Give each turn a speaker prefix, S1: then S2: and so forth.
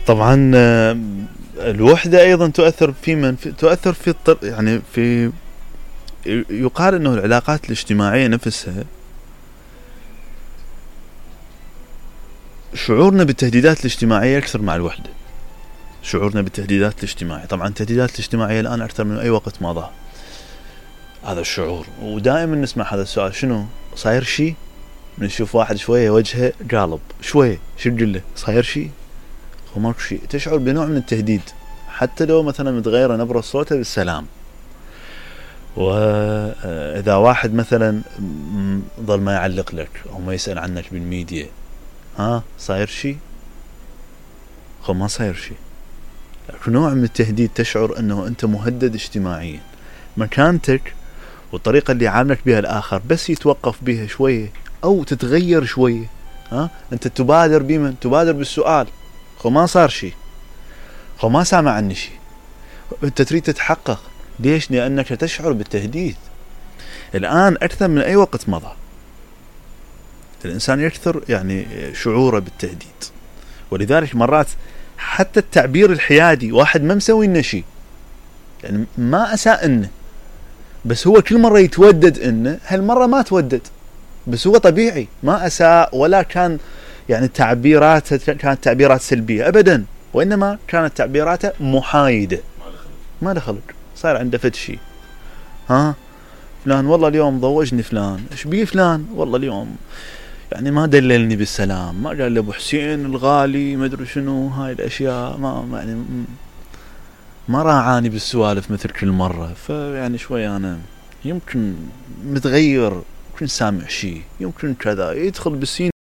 S1: طبعا الوحدة ايضا تؤثر في تؤثر في يعني في يقال انه العلاقات الاجتماعية نفسها شعورنا بالتهديدات الاجتماعية اكثر مع الوحدة. شعورنا بالتهديدات الاجتماعية، طبعا التهديدات الاجتماعية الان اكثر من اي وقت مضى، هذا الشعور. ودائما نسمع هذا السؤال، شنو صاير شيء؟ نشوف واحد شوية وجهه قالب شوية، شو تقول له؟ صاير شيء؟ وماكو شيء، تشعر بنوع من التهديد حتى لو مثلا متغيرة نبرة صوته بالسلام. واذا واحد مثلا ظل ما يعلق لك او ما يسأل عنك بالميديا، ها صاير شيء؟ خو ما صاير شيء، لكن نوع من التهديد، تشعر انه انت مهدد اجتماعيا. مكانتك والطريقة اللي يعاملك بها الاخر بس يتوقف بها شوية او تتغير شوية، ها انت تبادر بمن؟ تبادر بالسؤال، خو ما صار شيء، خو ما سامع عني شيء، انت تريد تتحقق. ليش؟ لانك تشعر بالتهديد. الان اكثر من اي وقت مضى الانسان يكثر يعني شعوره بالتهديد. ولذلك مرات حتى التعبير الحيادي، واحد ما مسوي لنا شيء، يعني ما اساء لنا، بس هو كل مرة يتودد انه، هالمرة ما تودد، بس هو طبيعي، ما اساء ولا كان يعني تعبيراته كانت تعبيرات سلبية ابدا، وانما كانت تعبيراته محايدة، ما دخلك صار عنده فد شيء. ها فلان والله اليوم ضوجني، فلان ايش بيه فلان؟ والله اليوم يعني ما دللني بالسلام، ما قال لي ابو حسين الغالي ما ادري شنو، هاي الاشياء ما يعني ما راعاني بالسوالف مثل كل مرة. فيعني شوي انا يمكن متغير، يمكن سامع شيء، يمكن كذا، يدخل بالسين